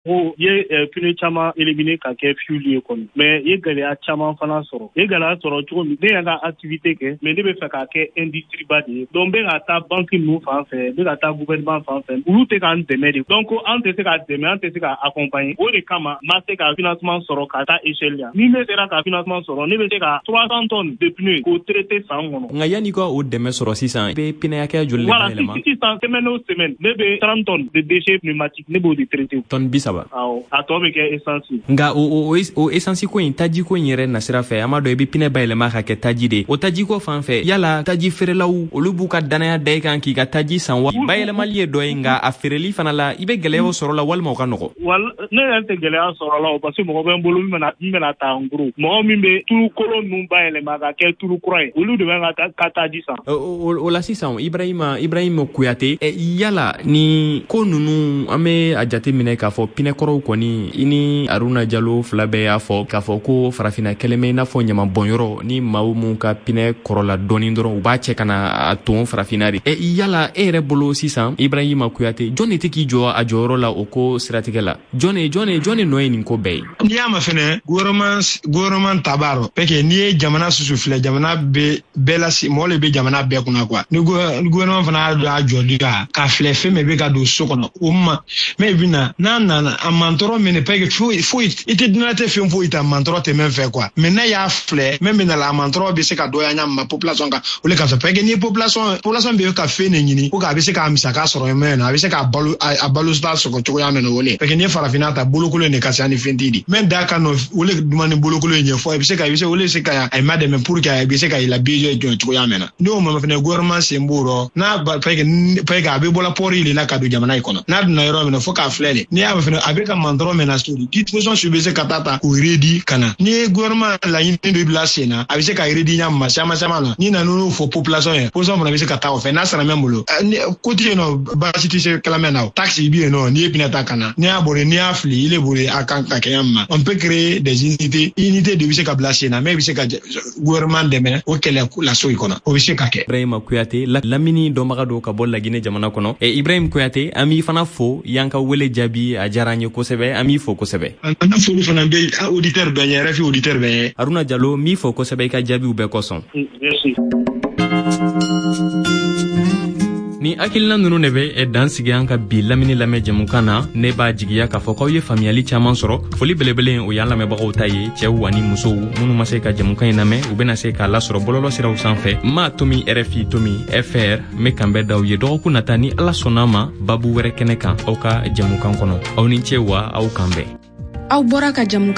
Ko ye pneu caman éliminer ka kɛ fuel ye kɔni, mais i ye gɛlɛya caman fana sɔrɔ. I ye gɛlɛya sɔrɔ cogo min, ne y'an ka activité kɛ, mais ne bɛ fɛ k'a kɛ industrie ba de ye. Donc n bɛ ka taa banque ninnu fan fɛ, n bɛ ka taa gouvernement fan fɛ, olu tɛ k'an dɛmɛ de. Donc an tɛ se ka dɛmɛ, an tɛ se ka accompagner. O de kama n ma se ka financement sɔrɔ ka taa échelle la. Ni ne sera ka financement sɔrɔ, ne bɛ se ka 300 tonnes de pneus k'o traiter san kɔnɔ. Nka yanni ka o dɛmɛ sɔrɔ sisan, i bɛ pneu hakɛya joli de bayɛlɛma? Sisan, semaine o semaine, ne bɛ 30 tonnes de déchets pneumatiques, ne b'o de traiter. Tonne 30? Awɔ, a tɔ bɛ kɛ essence. Nka o essence ko in, taji ko in yɛrɛ nasira fɛ, an b'a dɔn i bɛ pneu bayɛlɛma ka kɛ taji de. O taji ko fan fɛ, yala taji feerelaw, olu b'u ka danaya da i kan k'i ka taji san wa? Bayɛlɛmali ye dɔ ye, nka a feereli fana la, i bɛ gɛlɛyaw sɔrɔ la walima o ka nɔgɔ? Wala, ne yɛrɛ tɛ gɛlɛya sɔrɔ la o, parce que mɔgɔ bɛ n bolo min bɛna ta en gros. Mɔgɔ min bɛ tulu kolon ninnu bayɛlɛma ka kɛ tulu kura ye, olu de bɛ ka taji san. O la sisan, Ibrahima Kuyate, yala ni ko ninnu, an bɛ a jate minɛ k'a fɔ pinɛkɔrɔw kɔni, i ni Aruna Jalo fila bɛɛ y'a fɔ k'a fɔ ko farafinna kɛlen bɛ i n'a fɔ ɲamabɔnyɔrɔ, ni maaw mun ka pinɛ kɔrɔla dɔɔni dɔrɔn, u b'a cɛ ka na a ton farafinna de. Yala e yɛrɛ bolo sisan, Ibrahima Kuyate, jɔn de tɛ k'i jɔ a jɔyɔrɔ la o ko siratigɛ la? Jɔn de nɔ ye nin ko bɛɛ ye? N'i y'a ma fɛnɛ, gouvernement ta b'a rɔ, parce que n'i ye jamana susu filɛ, jamana bɛ bɛɛ la, mɔgɔ le bɛ jamana bɛɛ kunna quoi. Ni gouvernement fana y'a dɔn a jɔli kan k'a filɛ, fɛn min bɛ ka don so kɔnɔ, o ma mɛ bɛ na n'a nana a mantɔrɔ min, parce que foyi foyi i tɛ diɲɛlatigɛ fɛn foyi ta mantɔrɔ tɛ min fɛ quoi. Mais n'a y'a filɛ, min bɛ na la, a mantɔrɔ bɛ se ka dɔgɔya ɲa ma population kan, o le ka fisa, parce que ni population bɛ ka fɛn de ɲini ko a bɛ se k'a misaka sɔrɔ min na, a bɛ se k'a balo, a balo ta sɔrɔ cogoya min na, o le. Parce que n'i ye farafinna ta, bolokolo de ka ca ni fɛn t'i di min da ka nɔ, o le duman ni bolokolo in ɲɛfɔ, i bɛ se o le se ka a ma dɛmɛ pour que a bɛ se ka i la budget jɔ cogoya min na. N'o ma fɛnɛ, gouvernement sen b'o rɔ n'a ba, parce que a bɛ bɔla port de la ka don jamana in kɔnɔ. N'a donna yɔrɔ min na, fo k'a filɛ de. N'i y'a fɛnɛ, a bɛ ka mantɔrɔ min na so, disposition su bɛ se ka taa ta k'o réduit ka na. N'i ye gouvernement laɲini dɔ bila sen na, a bɛ se ka réduit ɲa ma caman caman na. N'i nana n'o fɔ population ye, population fana bɛ se ka taa o fɛ. N'a sara min bolo, ko tɛ yen nɔ, baasi tɛ se kɛlɛ na. O taxe bɛ yen nɔ, n'i ye pinɛ ta ka na, n'i y'a bɔri, n'i y'a fili, i le bolo a kan ka kɛ ma. On peut créer des unités, unité de bɛ se ka bila sen na, mais bɛ se ka gouvernement dɛmɛ o kɛlɛ la so in kɔnɔ, o bɛ se ka kɛ. Ibrahima Kuyate, lamini dɔnbaga don ka bɔ Laginɛ jamana kɔnɔ. Ibrahim Kuyate, an b'i fana fo y'an ka wele jaabi, a diyara an ye kosɛbɛ, an b'i fo kosɛbɛ. An ka foli fana bɛ auditeur bɛɛ ɲɛ, RFI auditeur bɛɛ ɲɛ. Aruna Jalo, n b'i fo kosɛbɛ i ka jaabiw bɛɛ kosɔn. Merci. Ni hakilina nunu de bɛ dan sigi an ka bi lamini lamɛn jɛmukan na. Ne b'a jigiya k'a fɔ k'aw ye faamuyali caaman sɔrɔ. Foli belebele, o y'an lamɛnbagaw ta ye, cɛw ani musow minnu ma se ka jɛmukan ɲi lamɛn, u bena se k'a lasɔrɔ bɔlɔlɔ siraw sanfɛ, ma tomi RFI tomi fr. N be kanbɛ daw ye dɔgɔkun nata, ni Ala sɔnna ma, babu wɛrɛ kɛnɛ kan aw ka jɛmukan kɔnɔ. Aw ni ce wa aw kan bɛn. Aw bɔra ka jamu